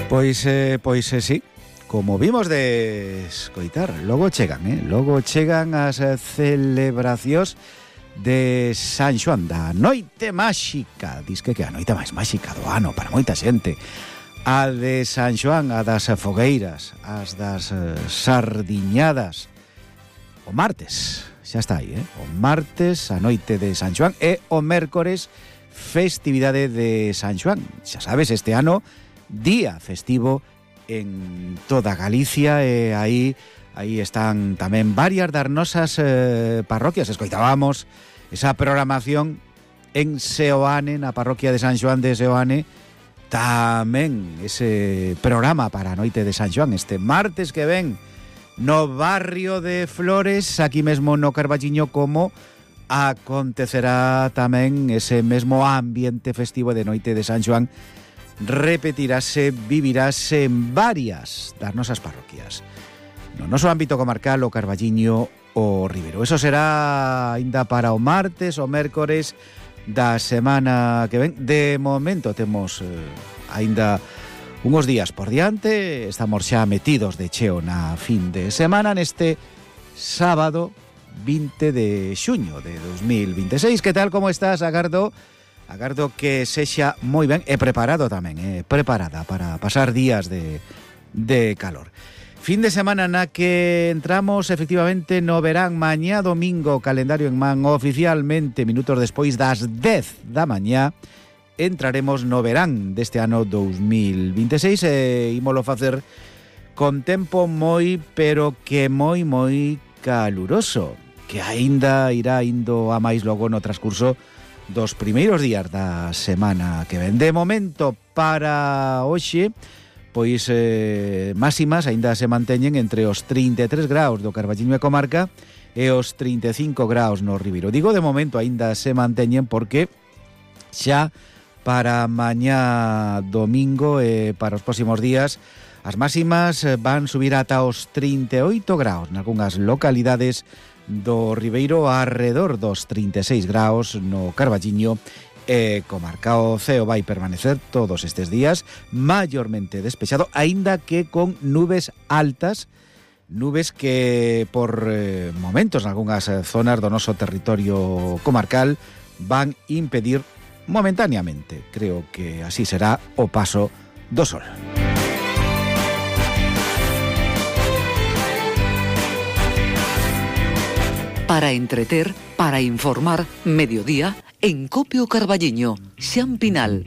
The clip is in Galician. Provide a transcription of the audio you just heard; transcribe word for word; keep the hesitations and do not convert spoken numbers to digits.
Pois, eh, pois eh, sí, como vimos de escoitar, logo chegan, eh? Logo chegan as celebracións de San Xoán, da noite máxica. Diz que que a noite máis máxica do ano para moita xente. A de San Xoán, a das fogueiras, as das eh, sardiñadas. O martes, xa está aí, eh? O martes, a noite de San Xoán, e o mércores, festividade de San Xoán. Xa sabes, este ano, día festivo en toda Galicia, e aí aí están tamén varias das nosas eh, parroquias. Escoitábamos esa programación en Seoane, na parroquia de San Xoán de Seoane, tamén ese programa para a noite de San Xoán este martes que ven no barrio de Flores, aquí mesmo no Carballiño, como acontecerá tamén ese mesmo ambiente festivo de noite de San Xoán. Repetirase, vivirase en varias das nosas parroquias. No noso ámbito comarcal, o Carballiño, o Ribeiro. Eso será ainda para o martes, o mércores da semana que ven. De momento temos eh, ainda unhos días por diante. Estamos xa metidos de cheo na fin de semana, neste sábado vinte de xuño de dos mil vinte e seis. Que tal, como estás, Agardo? Agardo que sexa moi ben e preparado tamén, eh, preparada para pasar días de, de calor. Fin de semana na que entramos efectivamente no verán. Mañá domingo, calendario en man, oficialmente minutos despois das dez da mañá, entraremos no verán deste ano dos mil vinte e seis e ímolo facer con tempo moi, pero que moi, moi caluroso, que aínda irá indo a máis logo no transcurso dos primeiros días da semana que ven. De momento, para hoxe, pois eh, máximas aínda se manteñen entre os trinta e tres graus do Carballiño e comarca e os trinta e cinco graus no Ribeiro. Digo de momento aínda se manteñen porque xa para mañá domingo e para os próximos días as máximas van subir ata os trinta e oito graus nalgúnas localidades do Ribeiro, arredor dos trinta e seis graus no Carballiño e comarca. O ceo vai permanecer todos estes días maiormente despexado, aínda que con nubes altas, nubes que por eh, momentos nalgúnas zonas do noso territorio comarcal van impedir momentáneamente, creo que así será, o paso do sol. Para entreter, para informar, mediodía, en Copio Carballiño, Xan Pinal.